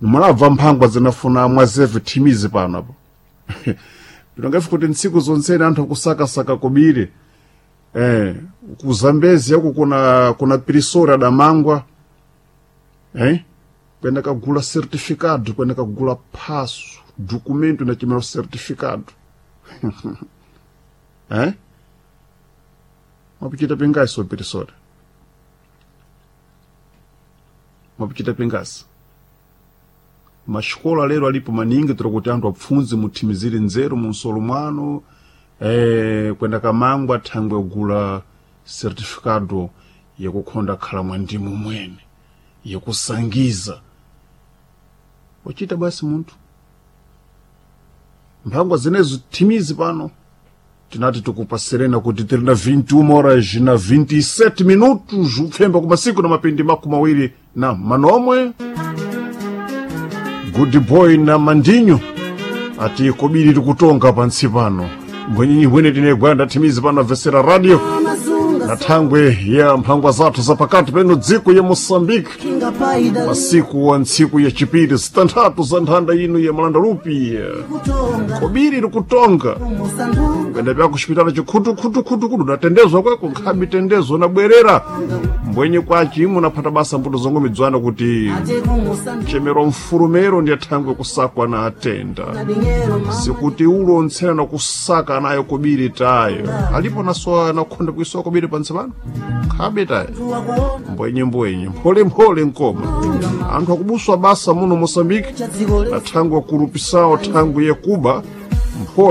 Nimulabva mphangwa zinafuna mwazeve thimizi pano apo. Pinongafi kuti ntsiku zonsene anthu akusakasaka kobiri. Ku Zambezi yako kuna Prisora damangwa. Kwenda kagula certificado, kwenda kagula passo, documento na chimero certificado. Mwapichita pingasi Prisora. Mwapichita pingasi. Maxikola lero alipo maningi tiri kuti anthu apfundze muthimizire nzeru munsolo mwanu, kwenda kamangwa thangwe kugula certificado yakukhonda khala mwa ndimu mwene yakusangiza. Wachita basi munthu. Mphangwa zinezo thimizi pano tinati tikupaserena kuti tiri na 21 horas na 27 minutos upfemba kumasiku na mapindi 28. Good boy na mandinyo ati kobiri tikutonga pantsi pano mbwenyinyi bwene tine gwanda thimizi pano avesera radio na thangwe ya mphangwa zathu zapakati peno dziko ya Moçambique, masiku wa ntsiku ya chipiri zitanthatu za nthanda ino ya Malanda Lupi. Kobiri likutonga kwenda pya kuxipitala chikhutukhutukhutukhutu natendezwa kweko nkhabi tendezo nabwerera mbwenye kwaci imwe naphata basa mbuto zongomidzwana kuti chemero mfulumero ndiye thangwe kusakwa na atenda sikuti ulo ntsena nakusaka nayo kobiri tayo alipo nasowa nakhonda kuisowa kobiri pantsi pano nkhabe tayo mbwenye mbwenye mpholemphole nkoma anthu akubuswa basa muno Moçambique na thangwe akulupisawo thangwe yakuba mphole.